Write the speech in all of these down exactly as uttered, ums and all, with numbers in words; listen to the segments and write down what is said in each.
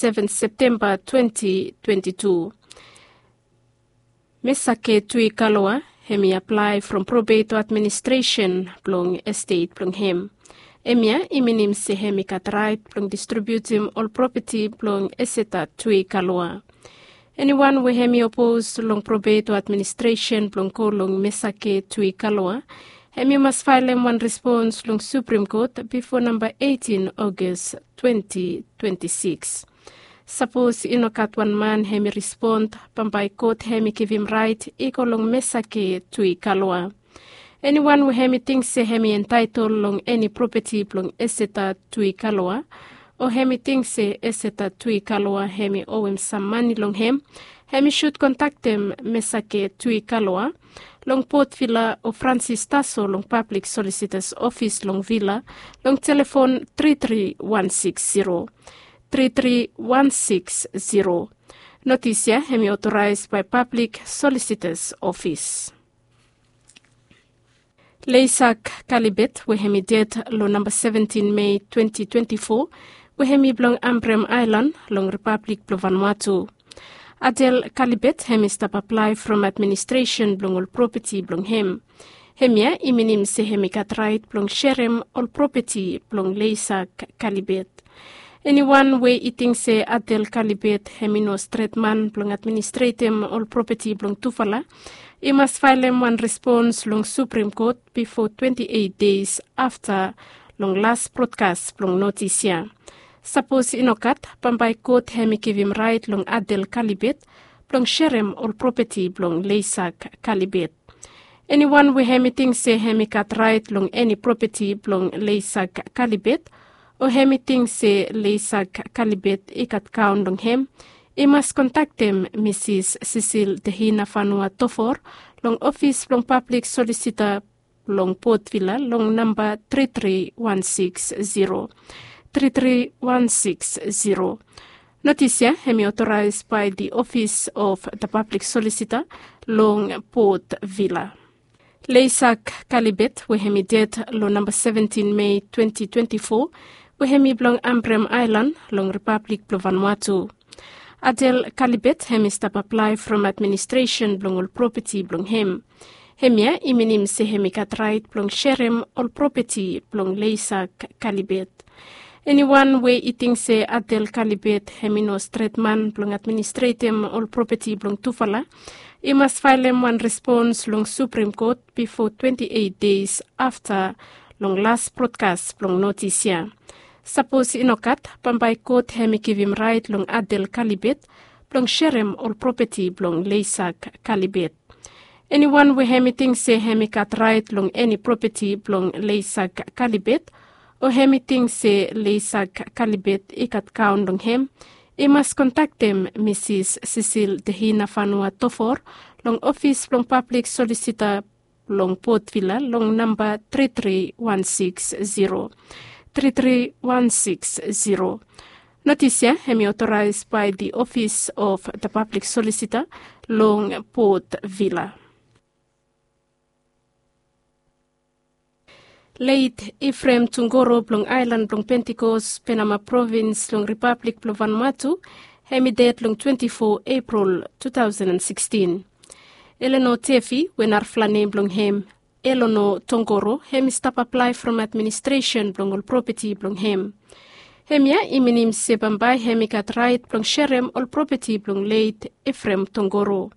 seven Septemba twenty twenty-two. Mesake Tui Kaloa hemi aplae from Probeito Administresen blong estet blong hem. Hemia i minim se hemi gat raet blong distribiutim ol propeti blong Eseta Tui Kaloa. Eniwan we hemi opos long Probeito Administresen blong go long Mesake Tui Kaloa, hemi mas faelem wan respons long Suprem Kot bifo namba eighteen August twenty twenty-six. Sapos i no gat wan man hemi respon, bambae kot hemi givim raet i go long Mesake Tui Kaloa. Eniwan we hemi ting se hemi entaetol long eni propeti blong Eseta Tui Kaloa, o hemi ting se Eseta Tui Kaloa hemi owem sam mane long hem, hemi sud kontaktem Mesake Tui Kaloa long Port Vila o Francis Taso long Pablik Solisitas Ofis long Vila long telefon tri tri wan six zero, tri tri wan six zero. Notis ya hemi otoraes bae Pablik Solisitas Ofis. Leisak Kalibet we hemi ded long namba seventin Mei twenty twenty-four, we hemi blong Ambrem Aelan long Ripablik blong Vanuatu. Adel Kalibet hemi stap aplae from administresen blong ol propeti blong hem. Hemia i minim se hemi gat raet blong serem ol propeti blong Leisak Kalibet. Eniwan we i ting se Adel Kalibet hemi no stret man blong administretem ol propeti blong tufala, i mas faelem wan respons long Suprem Kot bifo twenti eit deis afta long las brodkas blong notis ya. Sapos i no gat, bambae kot hemi givim raet long Adel Kalibet blong serem ol propeti blong Leisak Kalibet. Eniwan we hemi ting se hemi gat raet long eni propeti blong Leisak Kalibet, o hemi ting se Leisak Kalibet i gat kaon long hem, i mas kontaktem Misis Sisil Tehina Fanua Tofor long ofis blong Pablik Solisita blong Port Vila long namba tri tri wan six zero, tri tri wan six zero. Notis ya hemi otoraes bae the Office of the Public Solicitor long Port Vila. Leisak Kalibet we hemi ded long namba seventin Mei twenty twenty-four, we hemi blong Ambrem Aelan long Ripablik blong Vanuatu. Adel Kalibet hemi stap aplae from administresen blong ol propeti blong hem. Hemia i minim se hemi gat raet blong serem ol propeti blong Leisak Kalibet. Eniwan we i ting se Adel Kalibet hemi no stret man blong administretem ol propeti blong tufala, i mas faelem wan respons long Suprem Kot bifo twenti eit deis afta long las brodkas blong notis ya. Sapos i no gat, bambae kot hemi givim raet long Adel Kalibet blong serem ol propeti blong Leisak Kalibet. Eniwan we hemi ting se hemi gat raet long eni propeti blong Leisak Kalibet, o hemi ting se Leisak Kalibet i gat kaon long hem, i mas kontaktem Misis Sisil Tehina Fanua Tofor long ofis blong Pablik Solisita blong Port Vila long namba tri tri wan six zero, tri tri wan six zero. Notis ya hemi otoraes bae the Office of the Public Solicitor long Port Vila. Leit Efrem Tungoro blong aelan blong Pentikos, Penama provins long Ripablik blong Vanuatu, hemi ded long twenti fo Epril tu taosen an sikstin. Eleno Tefi, we narafala nem blong hem Elono Tongoro, hemi stap aplae from administresen blong ol propeti blong hem. Hemia i minim se bambae hemi gat raet blong serem ol propeti blong leit Efrem Tongoro.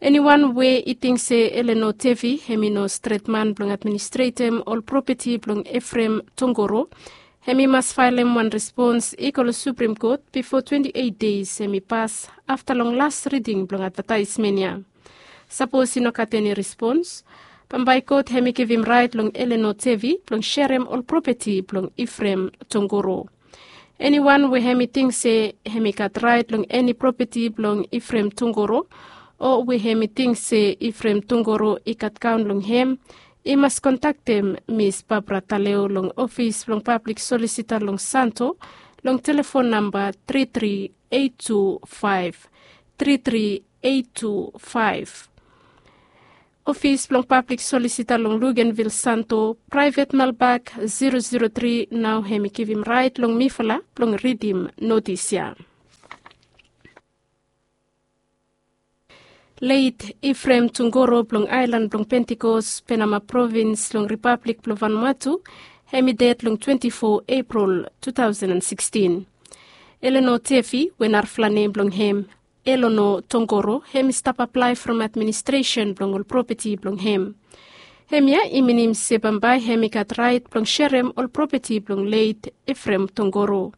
Eniwan we i ting se Eleno Tefi hemi no stret man blong administretem ol propeti blong Efrem Tongoro, hemi mas faelem wan respons i go long Suprem Kot bifo twenti eit deis hemi pas afta long las riding blong advataesmen ya. Sapos i no gat eni respons, bambae kot hemi givim raet long Eleno Tefi blong serem ol propeti blong Efrem Tongoro. Eniwan we hemi ting se hemi gat raet long eni propeti blong Efrem Tongoro, o we hemi ting se Efrem Tongoro i gat kaon long hem, i mas kontaktem Mis Barbara Taleo long ofis blong Pablik Solisita long Santo long telefon namba tri tri eit tu faef, tri tri eit tu faef. Ofis blong Pablik Solisita long Luganvil Santo, praevet melbak zero zero tri, nao hemi givim raet long mifala blong ridim notis ya. Leit Efrem Tongoro blong aelan blong Pentikos, Penama provins long Ripablik blong Vanuatu, hem i ded long twenti fo Epril tu taosen an sikstin. Eleno Tefi, we narafala nem blong hem Elono Tongoro, hem i stap aplae from administresen blong ol propeti blong hem. Hemia i minim se bambae hem i gat raet blong serem ol propeti blong leit Efrem Tongoro.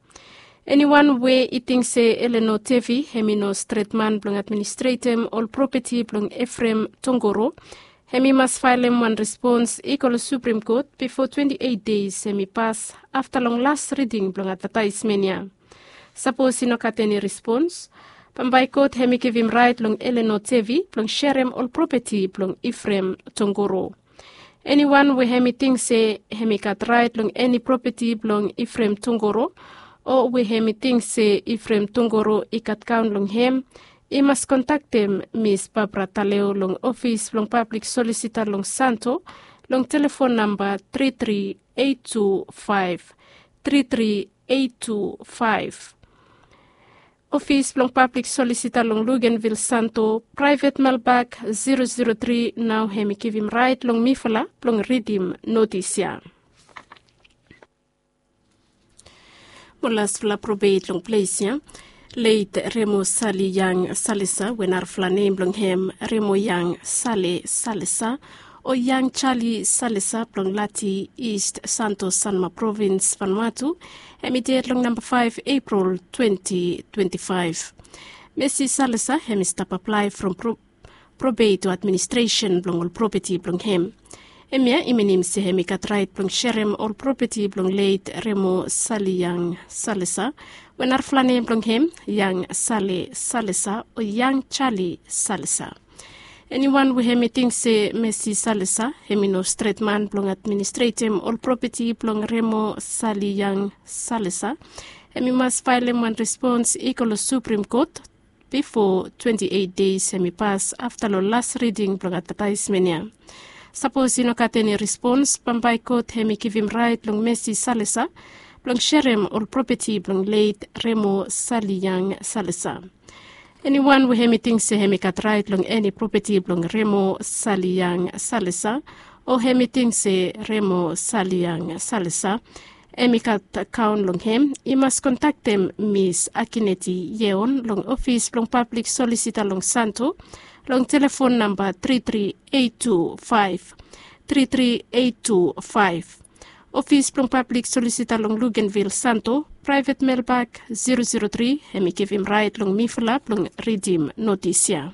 Eniwan we i ting se Eleno Tefi hem i no stret man blong administretem ol propeti blong Efrem Tongoro, hem i mas faelem wan respons i go long Suprim Kot bifo twenti eit deis hem i pas afta long las riding blong advataesmen ya. Sapos i no gat eni respons, bambae God hem i givim raet long Eleno Tefi blong serem ol propeti blong Efrem Tongoro. Eniwan we hem i ting se hem i gat raet long eni propeti blong Efrem Tongoro, o we hem i ting se Efrem Tongoro i gat kaon long hem, i mas kontaktem Mis Barbara Taleo long ofis blong pablik solisita long Santo, long telefon namba tri tri eit tu faef, tri tri eit tu faef. Ofis blong pablik solisita long Lugenvil Santo, praevet melbak zero zero tri, nao hem i givim raet long mifala blong ridim notis ya. Mo lasfala probeit long ples ya. Leit Remo Sali Yang Salesa, we narafala nem blong hem Remo Yang Sale Salesa, o Yang Charlie Salesa blong Lati, East Santo Sanma provins, Vanuatu, hem i ded long namba faef Epril twenti twenti faef. Mesi Salesa hem i stap aplae from pro probeit o administresen blong ol propeti blong hem. Hemia i minim se hem i gat raet blong serem ol propeti blong leit Remo Sali Yang Salesa, we narafala nem blong hem Yang Sale Salesa o Yang Charlie Salesa. Eniwan we hem i ting se Mesi Salesa hem i no stret man blong administretem ol propeti blong Remo Sali Yang Salesa, hem i mas faelem wan respons i go long Suprim Kot bifo twenti eit deis hem i pas afta long las riding blong advataesmen ya. Sapos i no gat eni respons, bambae God hem i givim raet long Mesi Salesa blong serem ol propeti blong leit Remo Sali Yang Salesa. Eniwan we hem i ting se hem i gat raet long eni propeti blong Remo Sali Yang Salesa, o hem i ting se Remo Sali Yang Salesa hem i gat akaon long hem, i mas kontaktem Mis Akineti Yeon long ofis blong pablik solisita long Santo, long telefon namba tri tri eit tu faef, tri tri eit tu faef. Ofis blong pablik solisita long Lugenvil Santo, praevet melbak zero zero tri, hem i givim raet long mifala blong ridim notis ya.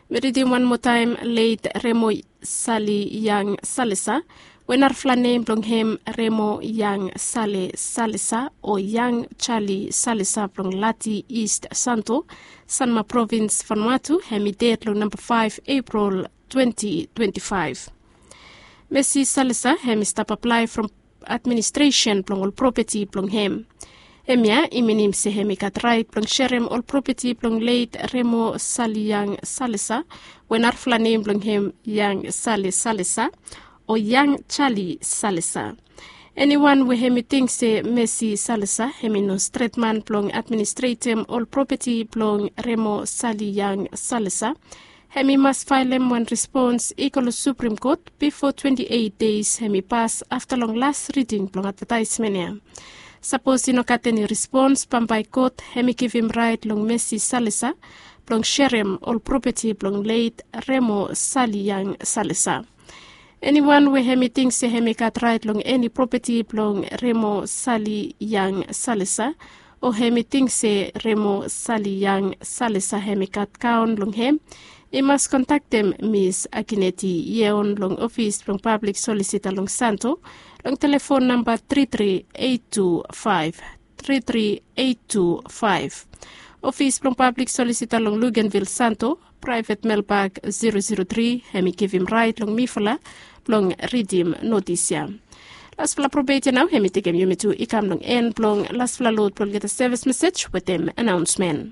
Mi ridim wan moa taem, leit Remo Sali Yang Salesa, we narafala nem blong hem Remo Yang Sale Salesa o Yang Charlie Salesa blong Lati, East Santo Sanma provins, Vanuatu, hem i ded long namba faef Epril twenti twenti faef. Mesi Salesa hem i stap aplae from administresen blong ol propeti blong hem. Hemia i minim se hem i gat raet blong serem ol propeti blong leit Remo Sali Yang Salesa, we narafala nem blong hem Yang Sale Salesa o Yang Charlie Salesa. Eniwan we hem i ting se Mesi Salesa hem i no stret man blong administretem ol propeti blong Remo Sali Yang Salesa, hem i mas faelem wan respons i go long Suprim Kot bifo twenti eit deis hem i pas afta long las riding blong advataesmen ya. Sapos i no gat eni respons, bambae God hem i givim raet long Mesi Salesa blong serem ol propeti blong leit Remo Sali Yang Salesa. Eniwan we hem i ting se hem i gat raet long eni propeti blong Remo Sali Yang Salesa, o hem i ting se Remo Sali Yang Salesa hem i gat akaon long hem, i mas kontaktem Mis Akineti Yeon long ofis blong pablik solisita long Santo, long telefon namba tri tri eit tu faef, tri tri eit tu faef. Ofis blong pablik solisita long Lugenvil Santo, praevet melbak zero zero tri, hem i givim raet long mifala blong ridim notis ya. Lasfala probeit ya nao hem i tekem yumi tu i kam long en blong lasfala lod blong olgeta sevis mesej wetem anaonsmen.